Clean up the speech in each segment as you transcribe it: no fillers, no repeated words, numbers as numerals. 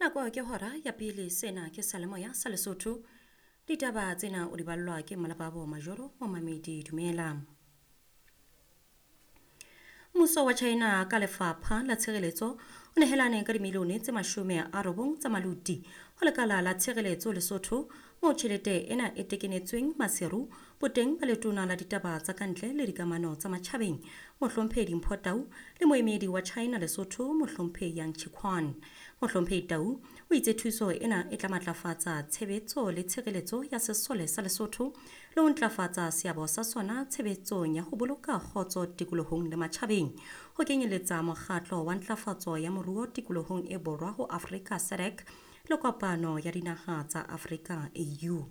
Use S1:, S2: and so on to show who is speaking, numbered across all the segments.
S1: Nako ke hora ya pele sena ke Salemoya sa Lesotho. Ditaba tsena o di ballwa ke Malababo Majoro Momamedi Dumela. Mmuso wa China ka lefapha la tshireletso o nehelane ka dimilione tse 90 tsa maluti ho lekala la tshireletso Lesotho moo tjhelete ena e tekenetsweng Maseru boteng ba letona la ditaba tsa kantle le dikamano tsa matjhabeng Mohlomphehi Dimpho Tau le moemedi wa China Lesotho Mohlomphehi Yang Chiquan. Mohlomphehi Tau o itse thuso ena e tla matlafatsa tshebetso le tshireletso ya sesole sa Lesotho le ho ntlafatsa seabo sa sona tshebetsong ya ho boloka kgotso tikolohong le matjhabeng ho kenyeletsa mokgatlo wa ntlafatso ya moruo tikolohong e borwa ho Afrika SADC le kopano ya dinaha tsa Afrika AU.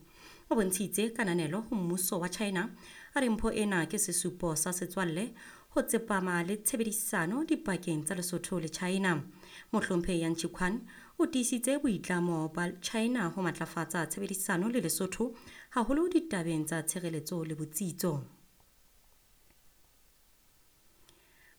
S1: O bontshitse kananelo ho mmuso wa China a re mpho ena ke sesupo sa setswalle ho tsepama le tshebedisano dipakeng tsa Lesotho le China. Mohlomphehi Yang Chiquan o tiisitse boitlamo ba China ho matlafatsa tshebedisano le Lesotho haholo ditabeng tsa tshireletso le botsitso.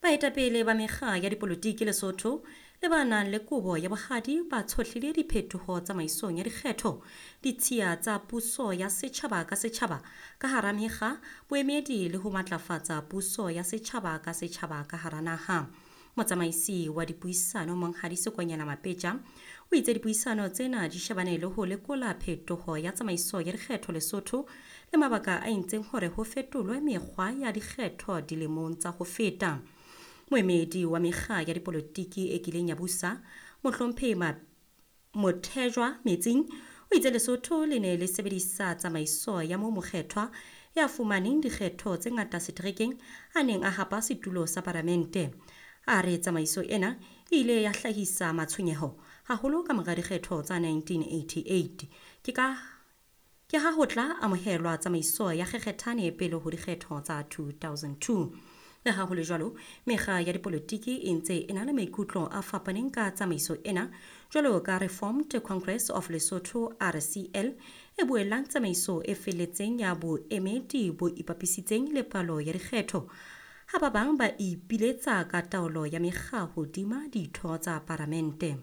S1: Baetapele ba mekga ya dipolotiki Lesotho le ba nang le kobo ya bohadi ba tshohlile diphetoho tsamaisong ya dikgetho, ditshiya tsa puso ya setjhaba ka setjhaba ka hara mekga, boemedi le ho matlafatsa puso ya setjhaba ka setjhaba ka hara naha. Motsamaisi wa dipuisano Monghadi Sekonyela Mapetja o itse dipuisano tsena di shebane le ho lekola phetoho ya tsamaiso ya dikgetho Lesotho le mabaka a entseng hore ho fetolwe mekgwa ya dikgetho dilemong tsa ho feta. Moemedi wa mekga ya dipolotiki e kileng ya busa Mohlomphehi Mothejwa Metsing o itse Lesotho le ne le sebedisa tsamaiso ya moo mokgethwa ya fumaneng dikgetho tse ngata seterekeng a neng a hapa setulo sa paramente. A re tsamaiso ena e ile ya hlahisa matshwenyeho haholo ka mora dikgetho tsa 1988. Ke ha ho tla amohelwa tsamaiso ya kgekgethane pele ho dikgetho tsa 2002. Le ha ho le jwalo, mekga ya dipolotiki e ntse e na le maikutlo a fapaneng ka tsamaiso ena, jwalo ka Reformed Congress of Lesotho RCL e buellang tsamaiso e felletseng ya boemedi bo ipapisitseng le palo ya dikgetho, ha ba bang ba ipiletsa ka taolo ya mekga hodima ditho tsa paramente.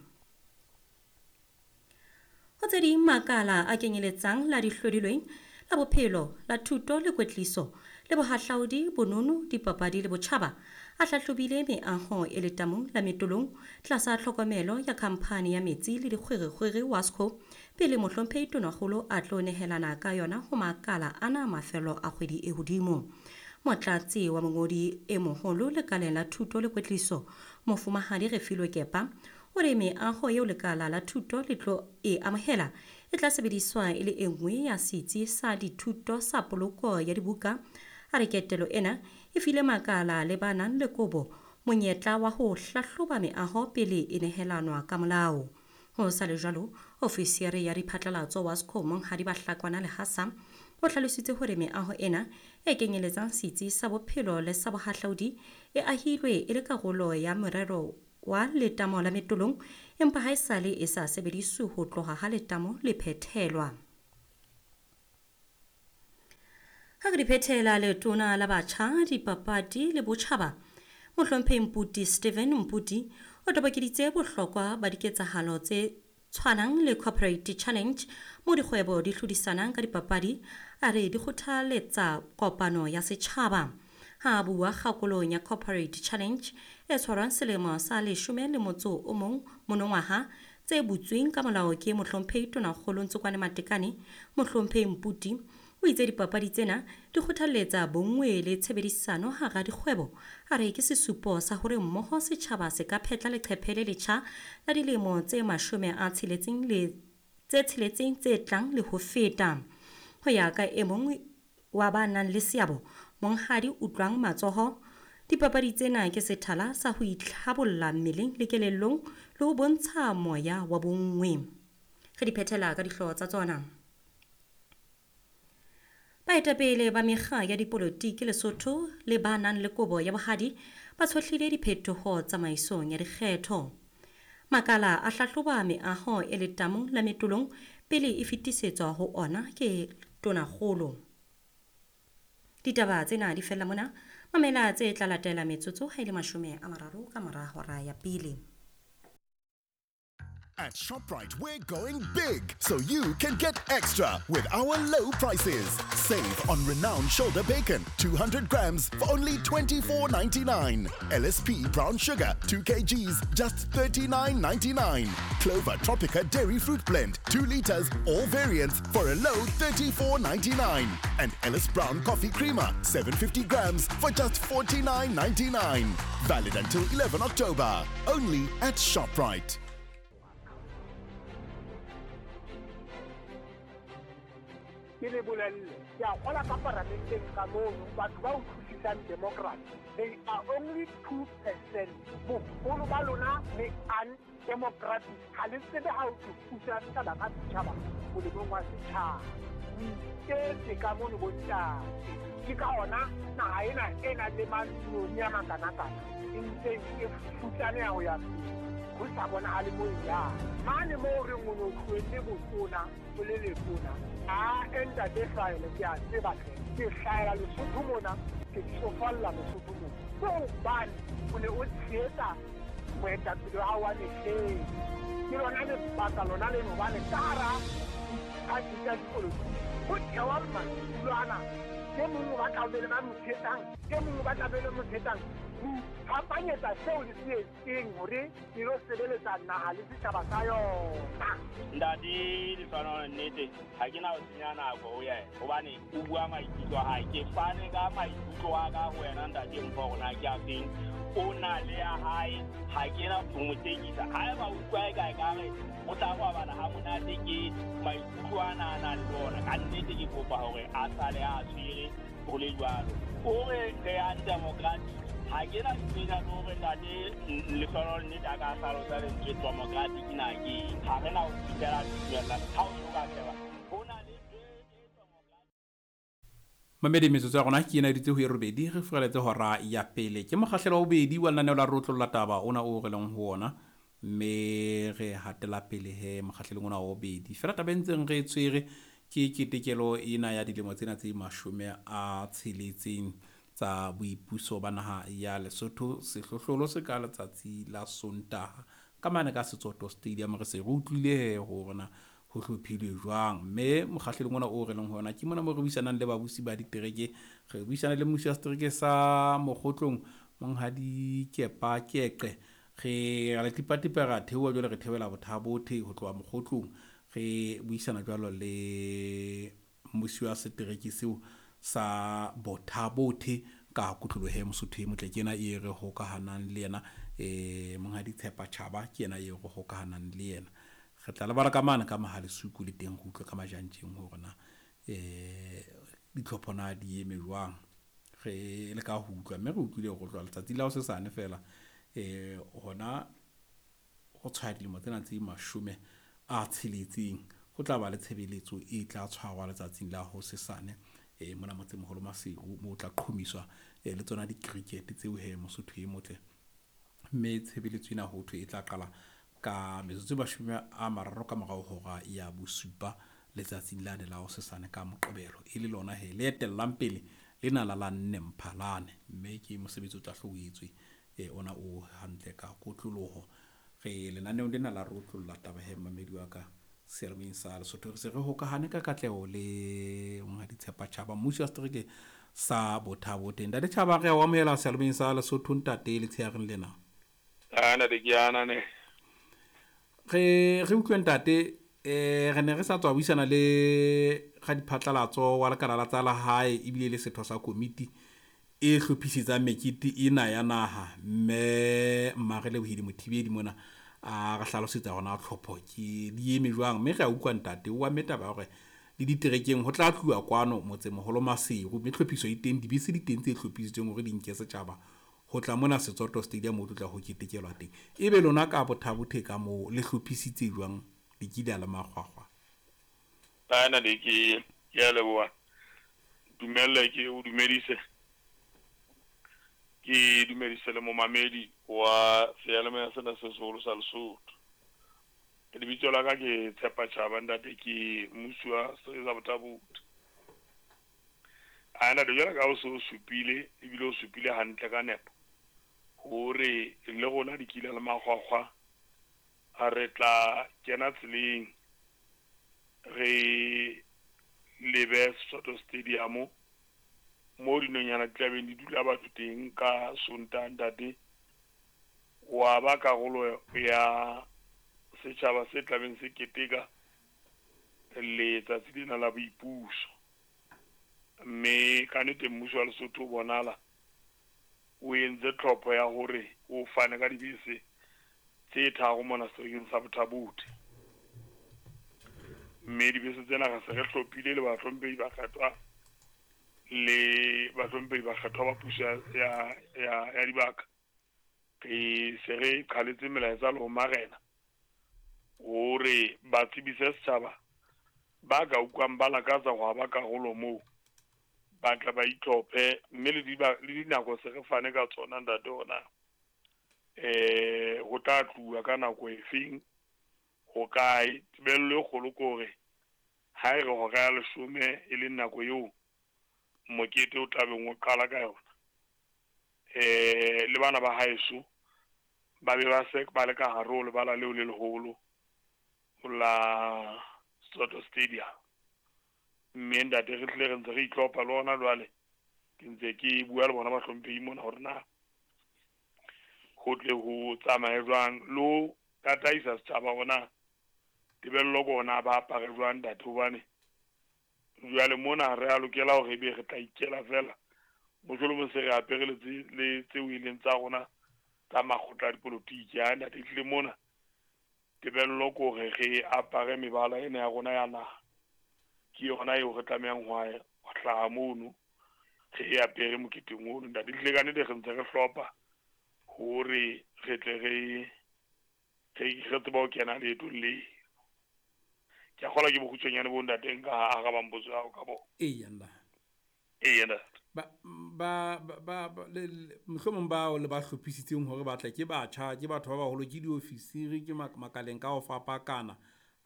S1: Ho tse ding makala a kenyeletsang la dihlodilweng, la bophelo, la thuto le kwetliso, le bohahlaudi, bonono, dipapadi le botjhaba, a hlahlobile meaho e letamong la Metolong tlasa tlhokomelo ya khamphani ya metsi le dikgwerekgwere Wasco pele Mohlomphehi Tonakgolo a tlo nehelana ka yona ho makala ana mafelo a kgwedi e hodimo. Motlatsi wa mongodi e moholo lekaleng la thuto le kwetliso Mofumahadi Refilwe Kepa o re meaho eo lekala la thuto le tlo e amohela e tla sebediswa e le e nngwe ya setsi sa dithuto sa poloko ya dibuka. A re ketelo ena e file makala le ba nang le kobo monyetla wa ho hlahloba meaho pele e nehelanwa ka molao. Ho sa le jwalo, ofisiere ya diphatlalatso Wasco Monghadi Bahlakwana Lehasa o hlalositse hore meaho ena e kenyeletsang setsi sa bophelo le sa bohahlaudi e ahilwe e le karolo ya morero wa letamo la Metolong, empa haesale e sa sebediswe ho tloha ha letamo le phethelwa. Ha re di phethela letona la batjha, dipapadi le botjhaba, Mohlomphehi Mputi Stephen Mputi o tobokeditse bohlokwa ba diketsahalo tse tshwanang le Corporate Challenge mo dikgwebo di hlodisanang ka dipapadi, a re di kgothaletsa kopano ya setjhaba. Ha a bua kgakolong ya Corporate Challenge e tshwarwang selemo sa 11 monongwaha tse butsweng ka molao ke Mohlomphehi Tonakgolo Ntsokwane Matekane, Mohlomphehi Mputi o itse dipapadi tsena di kgothaletsa bonngwe le tshebedisano hara dikgwebo. A re ke sesupo sa hore mmoho setjhaba se ka phetla leqephe le letjha la dilemo tse 66 tse tlang le ho feta. Ho ya ka e mong wa ba nang le seabo, Monghadi Utlwang Matsoho, dipapadi tsena ke sethala sa ho itlhabolla mmeleng le kelellong le ho bontsha moya wa bonngwe. Re di phethela ka dihlooho tsa tsona. Baetapele ba mekga ya dipolotiki Lesotho le ba nang le kobo ya bohadi ba tshohlile diphetoho tsamaisong ya dikgetho. Makala a hlahloba meaho e letamong la Metolong pele e fetisetswa ho ona ke Tonakgolo. Ditaba tsena di fella mona. Mamela tse tla latela metsotso ha e le 30 ka mora hora ya pele.
S2: At ShopRite, we're going big so you can get extra with our low prices. Save on renowned shoulder bacon, 200 grams for only $24.99. LSP brown sugar, 2 kgs, just $39.99. Clover Tropica dairy fruit blend, 2 liters, all variants for a low $34.99. And Ellis Brown coffee creamer, 750 grams for just $49.99. Valid until 11 October. Only at ShopRite.
S3: Ke le bolelle, ke a kgola ka paramenteng ka mono batho ba utlwisisang democracy, they are only 2%. Boholo ba lona le undemocratic, ha le tsebe ha o tlo pusa setjhaba ka setjhaba molemong wa setjhaba. O iketse ka mono bontate, ke ka ona naha ena e nang le mantsinyane a makanakana e ntseng e futsaneha ho ya pele, ho sa bonahale mo e yang. Mane moo re reng o no tlohelle botona o le letona, a ntate Hlahele, ke a tseba hle, ke hlahela Lesotho mona, ke tsofalla Lesotho mona. Ke hobane o ne o tshehetsa moetapele wa hao wa mehleng. Ke lona lebaka lona leno hobane ka hara diphathi tsa dipolotiki ho thewa madulo ana, e mong o batla ho be le ba mo tshehetsang, e mong o batla be le mo tshehetsang. Ho iphapanyetsa seo le se etseng hore le lo sebeletsa naha le setjhaba sa yona.
S4: Ntate Lefano, nnete ha ke na ho senya nako ho yena hobane o bua maikutlo a hae. Ke fane ka maikutlo a ka ho wena ntate Mpho hore na ke a feng. O na le ya hae, ha ke na ho mo tekisa. Haeba o utlwa e ka ekare o tla robala ha monate ke maikutlo ana a nang le ona, ka nnete ke kopa hore a sale a tshwere ho le jwalo. O re re undemocratic, ha ke na tsenya hore ntate Lefano nnete a ka hlalosa lentswe democratic na ke eng. Ha re na ho fihlela tumellano ha o so ka sheba ho na le
S5: Mamedi metsotso ya rona ke ena ditse ho e robedi re furaletse hora ya pele. Ke mokgahlelo wa bobedi wa lenaneo la Rotlolla Taba ona o re leng ho ona, mme re hatela pele he mokgahlelong ona wa bobedi. Fela taba e ntseng re e tshwere ke ketekelo ena ya dilemo tsena tse 60 tsa boipuso ba naha ya Lesotho. Sehlohlolo se ka letsatsi la Sontaha ka mane ka Setsoto Stadium. Re se re utlwile he hore na ho hlophilwe jwang, mme mokgahlelong ona o re leng ho ona ke mona mo re buisanang le babusi ba ditereke. Re buisana le mmusi wa setereke sa Mokgotlong, Monghadi Kepa Keqe. Re a le tipatipa ra theoha jwale, re theohela Bothabothe ho tloha Mokgotlong. Re buisana jwalo le mmusi wa setereke seo sa Bothabothe ka kotlolohe Mosotho e motle. Ke ena e re hokahanang le yena, Monghadi Tshepa Tjhaba ke yena e re hokahanang le yena. Re tla lebala ka mane ka Mahalesuku le teng re utlwe ka majantjeng hore na ditlhopho na di eme jwang. Re le ka ho utlwa, mme re utlwile hore tloha letsatsi la hosesane fela hona ho tshwaya dilemo tsena tse 60 ho tla ba le tshebeletso e tla tshwarwa letsatsing la hosesane mona motsemoholo Maseru, moo tla qhomiswa le tsona di-cricket tseo he Mosotho e motle. Mme tshebeletso ena ho thwe e tla qala ka metsotso e 30 ka morao hora ya bosupa letsatsing lane la hosesane ka Moqebelo, e le lona he le etellang pele lena la la nne Mphalane. Mme ke mosebetsi o tla hlo o etswe ona o hantle ka kotloloho. Re lenaneong lena la Rotlolla Taba he mmamedi wa ka seyalemoyeng sa Lesotho. Re se re hokahane ka katleho le Monghadi Tshepa Tjhaba, mmusi wa setereke sa Bothabothe. Ntate Tjhaba, re a o amohela seyalemoyeng sa Lesotho ntate letshehareng lena.
S6: A ntate ke ana ne.
S5: Re utlwe ntate, re ne re sa tswa buisana le radiphatlalatso wa lekala la tsa lehae ebile le setho sa komiti e hlophisetsang mekete ena ya naha, mme Mmarelebohile Mothibedi mona a re hlalosetsa hore na tlhopho ke di eme jwang. Mme re a utlwa ntate o amme taba ya hore le diterekeng ho tla tluwa kwano motsemoholo Maseru, mme tlhophiso e teng, dibese di teng tse hlophisitsweng hore di nke setjhaba ho tla mona Setsoto Stadium o tlo tla ho ketekelwa teng. Ebe lona ka Bothabothe ka moo le hlophisitse jwang dikila le makgwakgwa?
S6: Ana le ke ya leboha. Dumelle ke o dumedise. Ke dumedise le momamedi wa seyalemoya sena se seholo sa Lesotho. Lebitso la ka ke Tshepa Tjhaba ntate, ke mmusi wa setereke sa Bothabothe. Ana le jwalo ka o se o supile, ebile o supile hantle ka nepo hore le rona dikila le makgwakgwa a Re tla kena tseleng re lebe Soto Stadium mo dinonyana di tlabeng di dula batho teng ka Sontaha ntate. Wa ba karolo ya setjhaba se tlabeng se keteka letsatsi lena la boipuso. Mme ka nnete mmuso wa Lesotho o bonahala o entse tlhopho ya hore o fane ka dibese tse tharo mona seterekeng sa Botha-Bothe. Mme dibese tsena re se re hlophile le bahlomphehi bakgethwa le bahlomphehi bakgethwa ba puso ya dibaka. Re se re qhaletse melaetsa le ho marena hore ba tsebise setjhaba ba ka utlwang ba lakatsa ho ba karolo moo, ba tla ba itlhophe. Mme le dinako se re fane ka tsona ntate ona, ho tla tluwa ka nako efeng, ho kae. Tebello e kgolo ke hore ha e re hora ya 10 e leng nako eo mokete o tlabeng o qala ka yona, le bana ba haeso ba be ba se ba le ka hare ho lebala leo le leholo la Soto Stadium. Mme ntate re hlile re ntse re itlhopha le hona jwale, ke ntse ke bua le bona bahlomphehi mona hore na ho tle ho tsamaye jwang le ho tataisa setjhaba hore na tebello ke hore na ba apare jwang ntate. Hobane jwale mona re a lokela hore ebe re tla ikela fela, mohlolomong se re apere le tseo e leng tsa rona tsa makgotla a dipolotiki. Ha ntate ehlile mona tebello ke hore re apare mebala ena ya rona ya naha, ke yona eo re tlamehang ho hlaha mono re e apere moketeng ono ntate. Ehlile ka nnete re ntse re hlopha hore re tle re tsebe ho kena leetong le. Ke a kgolwa ke bokgutshwanyane bo ntate nka arabang potso ya hao ka bona.
S5: Eya nna.
S6: Eya ntate.
S5: Ba mohlomong bao le ba hlophisitseng hore ba tle ke batjha, ke batho ba baholo, ke diofisiri, ke makaleng ka ho fapakana,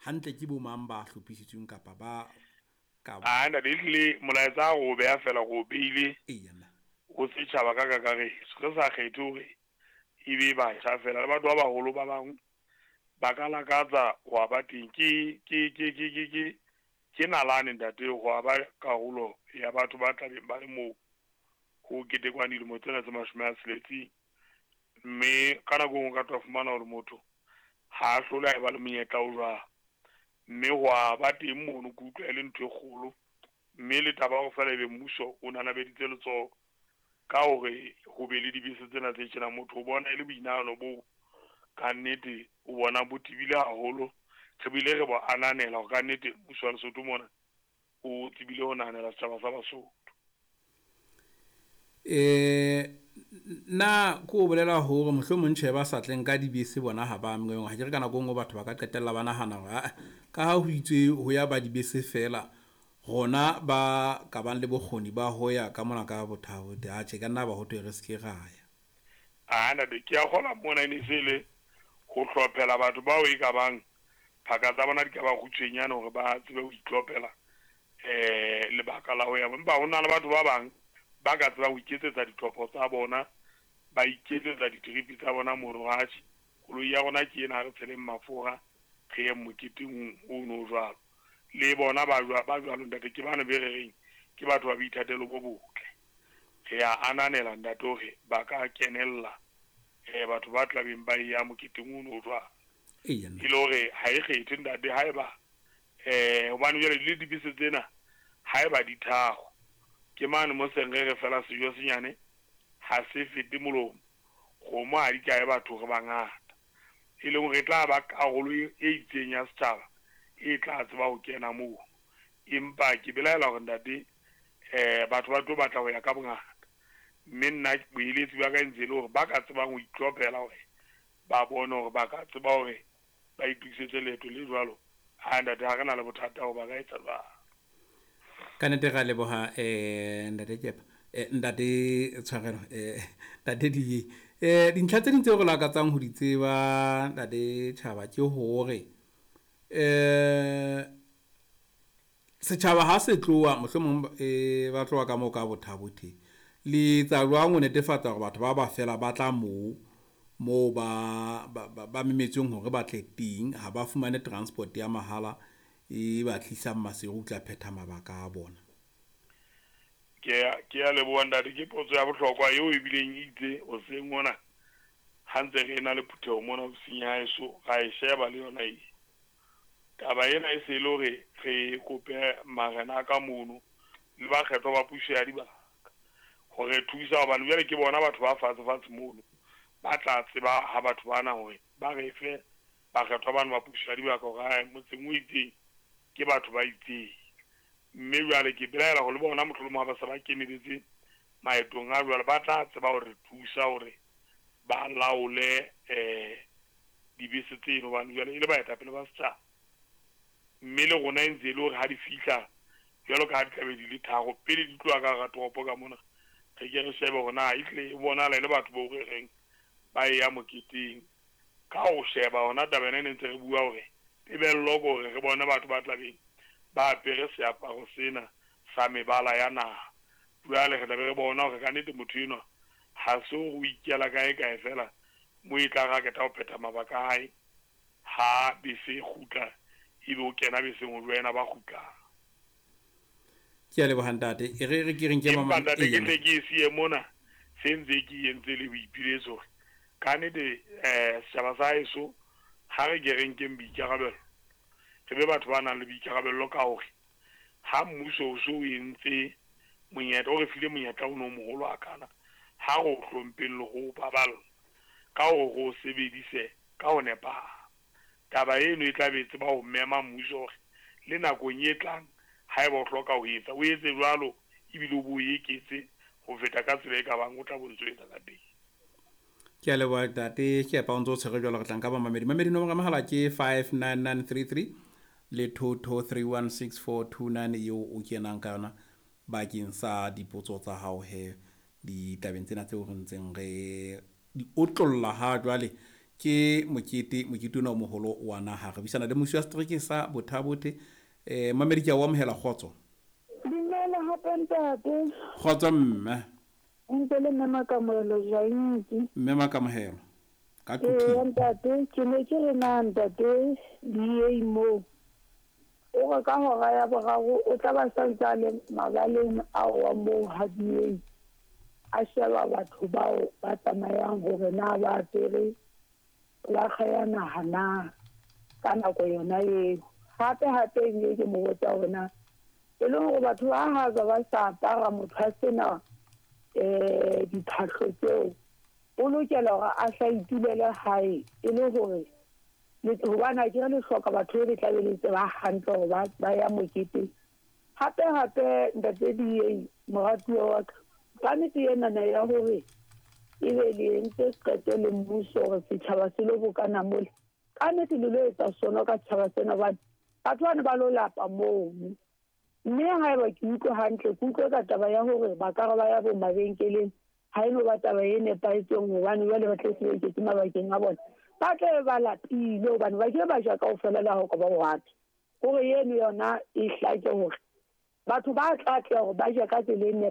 S5: hantle ke bo mang ba hlophisitsweng kapa ba ka
S6: A ntate ehlile molaetsa o beha fela go beile
S5: Eya nna.
S6: ho setjhaba ka kakaretso, re sa kgethe hore e be batjha fela, le batho ba baholo ba bang ba ka lakatsa ho ba teng. Ke nalane ntate ho ba karolo ya batho ba tlabeng ba le moo ho ketekwang dilemo tsena tse 60. Mme ka nako e nngwe o ka tla fumana hore motho ha a hlole a eba le monyetla o jwalo, mme ho a ba teng mono ke utlwa e le ntho e kgolo. Mme le taba ya hore feela ebe mmuso o nanabeditse letsoho ka hore ho be le dibese tsena tse tjena, motho o bona e le boinahano boo ka nnete o bona bo tebile haholo. Re bile re bo ananela hore ka nnete mmuso wa Lesotho mona o tsebile ho nahanela setjhaba sa Basotho.
S5: Nna ko bolela hore mohlomong tjhe ba sa tleng ka dibese bona ha ba amehang. Ha ke re ka nako e nngwe batho ba ka qetella ba nahana hore ka ha ho itswe ho ya ba dibese fela, rona ba ka bang le bokgoni ba ho ya ka mona ka Botha-Bothe, atjhe ka nna ba ho thwe re se ke ra ya.
S6: A ntate ke a kgolwa mona e ne se le ho hlophela batho bao e ka bang phaka tsa bona di ka ba kgutshwenyane hore ba tsebe ho itlhophela lebaka la ho ya. Empa ho na le batho ba bang ba ka tsebang ho iketsetsa ditlhopho tsa bona, ba iketsetsa ditripi tsa bona mono. Atjhe, koloi ya rona ke ena, ha re tsheleng mafura re ye moketeng ono jwalo. Le bona ba jwalo ntate, ke bana be re reng ke batho ba boithatelo bo botle. Re a ananela ntate hore ba ka kenella batho ba tlabeng ba ya moketeng ono jwalo.
S5: Eya nna.
S6: E le hore ha e kgethe ntate, haeba hobane jwale le dibese tsena haeba di tharo, ke mane mo seng re re fela sejo senyane ha se fete molomo, kgomo ha di kae batho re bangata. E leng hore e tla ba karolo e itseng ya setjhaba e tla tseba ho kena moo. Empa ke belaela hore ntate batho ba tlo batla ho ya ka bongata. Mme nna boeletsi ba ka e ntse e le hore ba ka tsebang ho itlhophela hore ba bone hore ba ka tseba hore ba itokisetse leeto le jwalo. Ha ntate ha re na le bothata hore ba ka etsa jwang.
S5: Ka nnete ra leboha ntate Kepa, ntate Tshwarelo, ntate Diye. Dintlha tse ding tseo re lakatsang ho di tseba ntate Tjhaba ke hore setjhaba ha se tloha mohlomong ba tloha ka moo ka Botha-Bothe, le etsa jwang ho netefatsa hore batho ba ba fela ba tla moo? moo ba ba memetsweng hore ba tle teng, ha ba fumane transport ya mahala e ba tlisang Maseru ho tla phetha mabaka a bona?
S6: Ke ya leboha, ntate. Ke potso ya bohlokwa eo ebileng e itse hoseng mona ha ntse re na le phutheho mona ofising ya haeso, ra e sheba le yona e taba ena. E se e le hore re kope marena a ka mono le bakgethwa ba puso ya dibaka hore thusa, hobane jwale ke bona batho ba fatshe fatshe mono ba tla tseba ha batho bana hore ba re fe bakgethwa bano ba puso ya dibaka hore ae motseng o itseng ke batho ba itseng. Mme jwale ke belaela hore le bona mohlolomong ha ba se ba keneletse maetong a jwalo, ba tla tseba hore thusa hore ba laole dibese tseno, hobane jwale e le baetapele ba setjhaba. Mme le rona e ntse e le hore ha di fihla, jwalo ka ha di tlabe di le 3 pele di tloha ka hara toropo ka mona, re ke re shebe hore na ehlile e bonahala e le batho bo re reng ba e ya moketeng. Ka ho sheba hona taba ena e ne ntse re bua hore tebello ke hore re bone batho ba tlabeng ba apere seaparo sena sa mebala ya naha. Jwale re tlabe re bona hore kannete motho enwa ha se hore o ikela kae kae fela mo e tla re ha qeta ho phetha mabaka a hae, ha bese e kgutla ebe o kena beseng ho joina ba kgutlang.
S5: Ke a leboha, ntate. E re re ke re nke
S6: Empa ntate, ke tle ke e siye mona, se ntse ke entse le boipiletso hore kannete setjhaba sa heso ha re ke re nkeng boikarabelo, re be batho ba nang le boikarabello ka hore ha mmuso o so o entse monyetla, o re file monyetla ono o moholo hakana, ha re o hlompheng le ho o baballa ka hore re o sebedise ka ho nepahala. Taba eno e tla be e tseba ho mema mmuso hore le nakong e tlang haeba o hloka ho etsa, o etse jwalo, ebile o bo o eketse ho feta ka tsela e ka bang o tla bo ntso etsa ka teng.
S5: Ke a leboha, ntate. Ke epa o ntse o tshwere jwalo, re tla nka bamamedi. Mamedi, nomoro ya mohala ke 59933 le 22316429 eo o kenang ka yona bakeng sa dipotso tsa hao he ditabeng tsena tseo re ntseng re di otlolla ha jwale ke mokete, mokete ona o moholo wa naha. Re buisana le musi wa setereke sa Botha-Bothe. Mamedi, ke a o amohela. Kgotso.
S7: Dumela hape, ntate.
S5: Kgotso, mme.
S7: Ntse le mme Makamohelo Jaintsi.
S5: Mme Makamohelo ka
S7: Ee,
S5: Quthing.
S7: ntate, ke ne ke re na ntate DA moo o re ka hora ya 3 o tla ba santse a le mabaleng ao wa moo ha DA a sheba batho bao ba tsamayang hore na ba apere folaga ya naha na ka nako yona eo. Hape hape ebile ke mo botsa hore na e leng hore batho ba ha ba sa apara, motho a sena diphahlo tseo, o lokela hore a hla itulele hae, e le hore hobane akere le hloka batho be le tlabe le tseba hantle hore ba ya moketeng. Hape hape, ntate DA moratuwa wa ka, kannete enana ya hore ebe le entse qeto le mmuso hore setjhaba se lo bokana mole, kannete le lo etsa sono ka setjhaba sena, hobane batho bane ba lo lapa mono. Mme haeba ke utlwe hantle, ke utlwe ka taba ya hore ba ka re ba ya bo mabenkeleng, ha eno ba taba e nepahetseng, hobane jwale ba tle se ba iketse mabakeng a bona, ba tla be ba lapile, hobane ba ke ba ja kaofela le ha o ka ba o hore eno yona e hlake hore batho ba tla tla hore ba je ka tsela e.